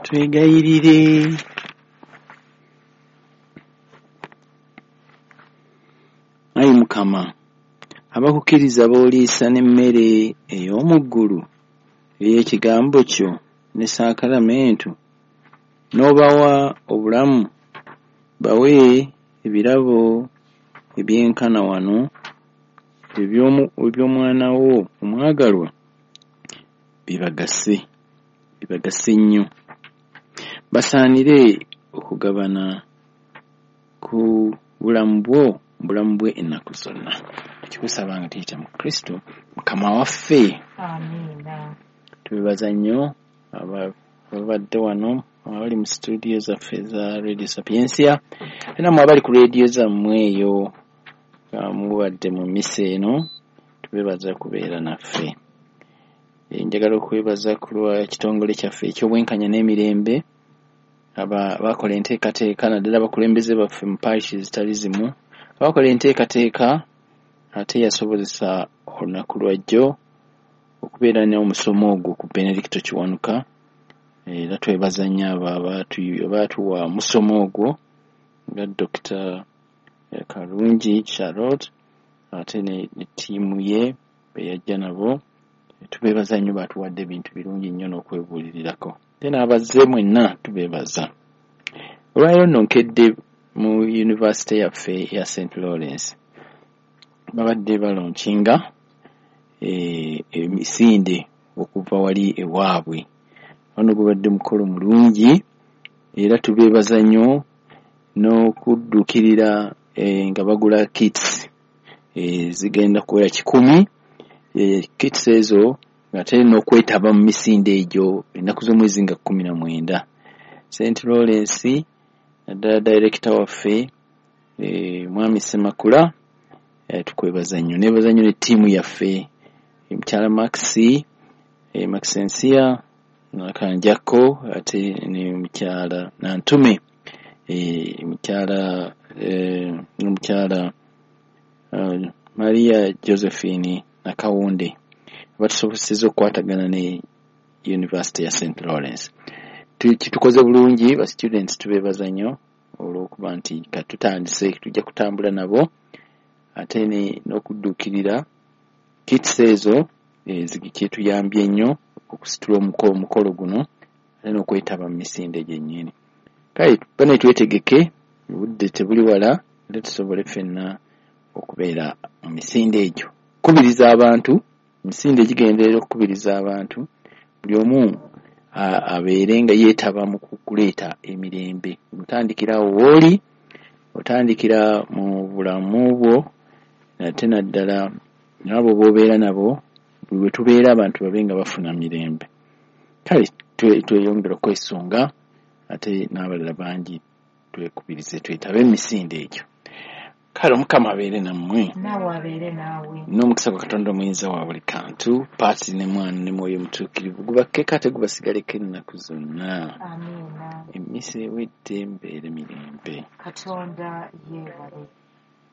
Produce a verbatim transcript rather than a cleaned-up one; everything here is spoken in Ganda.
Twegayirire. Ayi Mukama, abakukkiriza b'oliisa n'emmere ey'omu ggulu ey'ekigambo kyo ne saakalamentu, n'obawa obulamu, bawe ebirabo ebyenkana wano eby'omwana wo omwagalwa bibagase, bibagase nnyo. Basaanire okugabana ku bulamu bwo, bulamu bwe ennaku zonna. Tukikusaba nga tuyita mu Kristo Mukama waffe. Amiina. Tubebaza nnyo ababadde wano, abali mu studio zaffe za Radio Sapientia, era mmwe abali ku radio zammwe eyo mubadde mu mmisa eno, tubebaza kubeera naffe. Njagala okwebaza ku lwa kitongole kyaffe eky'obwenkanya n'emirembe abakola enteekateeka, naddala abakulembeze baffe mu parish ezitali zimu abakola enteekateeka ate yasobozesa olunaku lwajjo okubeera n'omusomo ogwo ku Benedicto Kiwanuka. Era twebaza nnyo abo abaatuwa omusomo ogwo nga Dokita Kalungi Charlotte ate ne ttiimu ye be yajja nabo. Tubeebaza nnyo, baatuwadde ebintu birungi nnyo n'okwebuulirirako. Ate n'abazze mwenna tubeebaza. Olwaleero nno nkedde mu yunivasite yaffe eya Saint Lawrence, babadde balonkinga emisinde okuva wali ewaabwe. Wano gubadde mukolo mulungi era tubeebaza nnyo n'okudduukirira nga bagula kits zigenda kuwera kikumi. Kits ezo ate n'okwetaba mu misinde egyo ennaku z'omwezi nga kkumi na mwenda. Saint Lawrence naddala director waffe Mwami Ssemakula tukwebaza nnyo. Neebaza nnyo ne ttiimu yaffe, mukyala Maxi, Maxensia Nakanjako ate ne mukyala Nantume, mukyala n'omukyala Maria Josephine Nakawunde batusobosezza okukwatagana ne University ya Saint Lawrence. Kitukoze bulungi, ba students tubeebaza nnyo olw'okuba nti katutandise tujja kutambula nabo ate n'okudduukirira kits ezo kyetuyambye nnyo okusitula omukolo guno ate n'okwetaba mu misinde gyennyini. Kale bane twetegeke, obudde tebuli wala, ate tusobole ffenna okubeera mu misinde egyo. Kubiriza abantu, emisinde gigenderera okukubiriza abantu, buli omu abeere nga yeetaba mu kuleeta emirembe. Otandikira awo w'oli, otandikira mu bulamu bwo, ate naddala n'abo b'obeera nabo, buli we tubeera abantu babe nga bafuna mirembe. Kale tweyongere okwesunga ate n'abalala bangi twekubirize twetabe emisinde egyo. Kale Omukama abeere nammwe. Naawe abeere naawe. N'omukisa gwa Katonda omuyinza wa buli kantu, Paatiri ne Mwana ne Mwoyo Mutuukirivu gubakkeko ate gubasigaleko ennaku zonna. Amiina. Emmisa ewedde mbeere mirembe. Katonda yeebale.